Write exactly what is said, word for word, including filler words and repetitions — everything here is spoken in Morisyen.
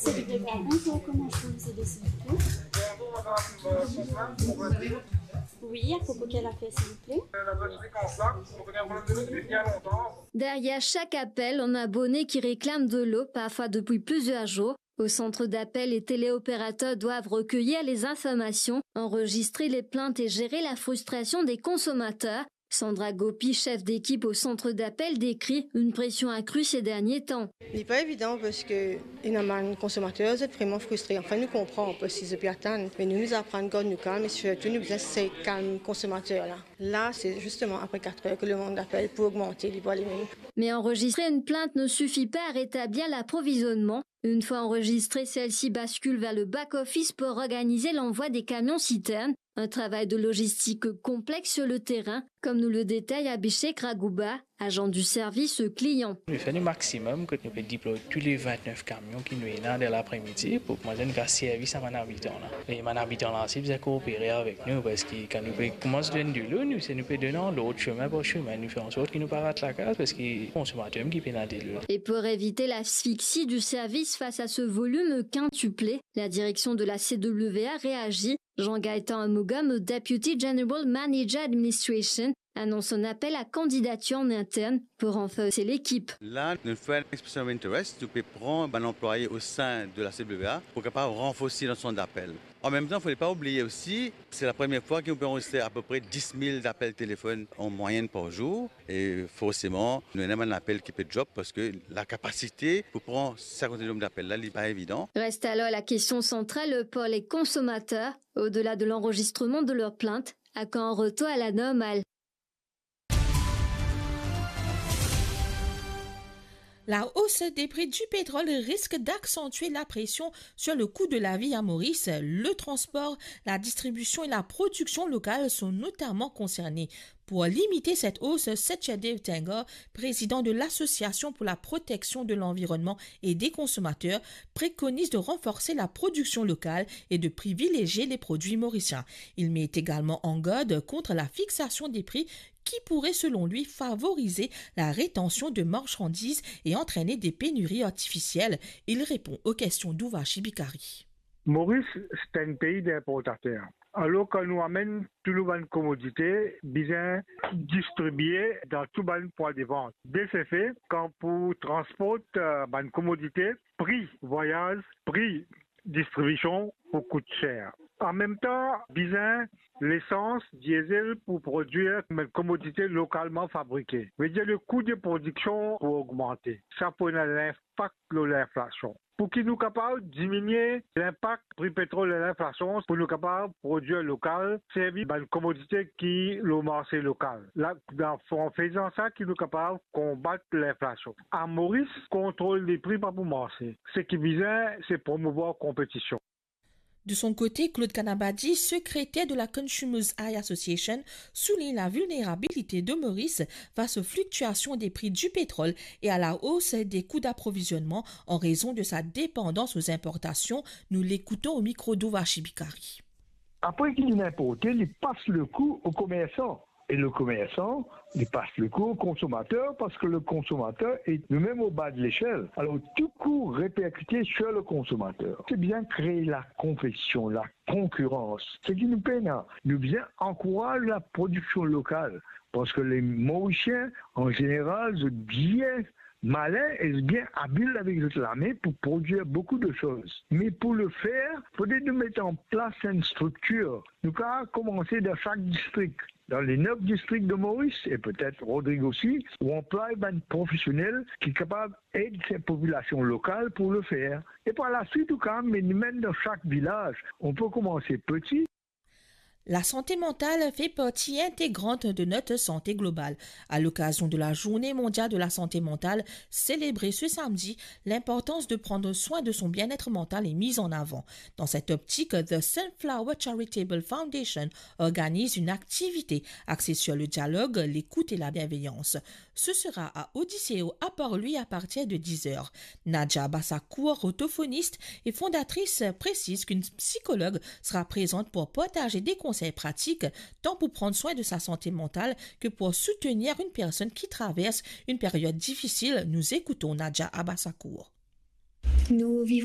C'est le pépère. Bonjour, comment je peux vous aider, s'il vous plaît ? Oui, à propos quelle affaire, s'il vous plaît ? Derrière chaque appel, un abonné qui réclame de l'eau, parfois depuis plusieurs jours. Au centre d'appel, les téléopérateurs doivent recueillir les informations, enregistrer les plaintes et gérer la frustration des consommateurs. Sandra Gopi, chef d'équipe au centre d'appel, décrit une pression accrue ces derniers temps. Li pa evidan parski ena bann konsomater, zot vreman fristre. Anfin, nou konpran parski zot pe atann, me nou, nou aprann gard nou kalm e sirtou nou bizin sey kalm konsomater la. La, se zisteman apre kat er ke lemond apel pou ogmante, li pou ale mem. Mais enregistrer une plainte ne suffit pas à rétablir l'approvisionnement. Une fois enregistrée, celle-ci bascule vers le back-office pour organiser l'envoi des camions citernes. Un travail de logistique complexe sur le terrain, comme nous le détaille Abhishek Raghuba, agent du service client. Nou fer nou maximum kot nou pe deploy tou le vintnef kamion ki nou ena dan lapremidi pou koumans donn servis a bann abitan la. E bann abitan la osi bizin koopere avek nou, parski kan nou pe koumans donn delo, nou, se nou pe donn an lord, sime par sime, nou fer ansort ki nou pa rat lakaz, parski konsomater ki pena delo. Et pour éviter l'asphyxie du service face à ce volume quintuplé, la direction de la C W A réagit. Jean-Gaëtan Amogam, Deputy General Manager Administration, annonce un appel à candidature en interne pour renforcer l'équipe. La, nou fer enn expression of interest, nou pe pran bann anplwaye o sein de la C W A pou kapav ranforsi nou sant dapel. An mem tan, fode pa oubliye osi, se lapremier fwa ki nou pe anrezistre apepre dis mil apel telefonn an mwayenn par zour. E forseman, nou ena bann apel ki pe drop parski lakapasite pou pran sa kantite nomb d'apel la, li pa evidan. Reste alors la question centrale pour les consommateurs. Au-delà de l'enregistrement de leurs plaintes, à quand un retour à la normale ? La hausse des prix du pétrole risque d'accentuer la pression sur le coût de la vie à Maurice. Le transport, la distribution et la production locale sont notamment concernés. Pour limiter cette hausse, Satyadev Tengor, président de l'Association pour la protection de l'environnement et des consommateurs, préconise de renforcer la production locale et de privilégier les produits mauriciens. Il met également en garde contre la fixation des prix qui pourrait, selon lui, favoriser la rétention de marchandises et entraîner des pénuries artificielles. Il répond aux questions d'Urvashi Bikari. Maurice, c'est un pays d'importateurs. Alor, kan nou amenn tou nou bann komodite, bizin distribie dan tou bann pwin de vant. De se fe, kan pou transport, eh, bann komodite, pri vwayaz, pri distribision pou kout ser. An mem tan, bizin lesans, diesel pou prodwir bann komodite lokalman fabrike. Vedir, le kou de prodiksion pou ogmante. Sa pou ena linpak lor linflasion. Pou ki nou kapav diminie linpak pri petrol e linflasion, pou nou kapav prodwir lokal, servi bann komodite ki lor marse lokal. La, dan, an fezan sa, ki nou kapav konbat linflasion. A Moris, kontrol de pri pa pou marse. Seki bizin, se promouvwar konpetision. De son côté, Claude Kanabadi, secrétaire de la Consumers Eye Association, souligne la vulnérabilité de Maurice face aux fluctuations des prix du pétrole et à la hausse des coûts d'approvisionnement en raison de sa dépendance aux importations. Nous l'écoutons au micro d'Urvashi Bikari. Apre ki linn inporte, li pas le kou o komersan. E le komersan, li pas le kou o konsomater, parski le konsomater e noumem o ba de lesel. Alor, tou kou reperkite sir le konsomater. Se bizin kree la konpetision, la konkirans. Seki nou pena, nou bizin ankouraz la prodiksion lokal, parski le Morisien, an zeneral, zot bien malin e bien abil avek zot lame pou prodwir boukou de soz. Me pou le fer, fode nou met an plas enn striktir. Nou kapav koumanse dan sak distrik, dan le nef distrik de Moris e petet Rodrig osi, ou anplway bann profesionel ki kapav ed sa popilasion lokal pou le fer. E par laswit, ou kapav amenn dan sak vilaz. On peut commencer petit. La santé mentale fait partie intégrante de notre santé globale. À l'occasion de la Journée mondiale de la santé mentale, célébrée ce samedi, l'importance de prendre soin de son bien-être mental est mise en avant. Dans cette optique, The Sunflower Charitable Foundation organise une activité axée sur le dialogue, l'écoute et la bienveillance. Ce sera à Odiseo à Port-Louis à partir de dix heures. Nadia Bassacourt, orthophoniste et fondatrice, précise qu'une psychologue sera présente pour partager des conseils pratiques, tant pour prendre soin de sa santé mentale que pour soutenir une personne qui traverse une période difficile. Nous écoutons Nadia Abassacourt. Nous vivons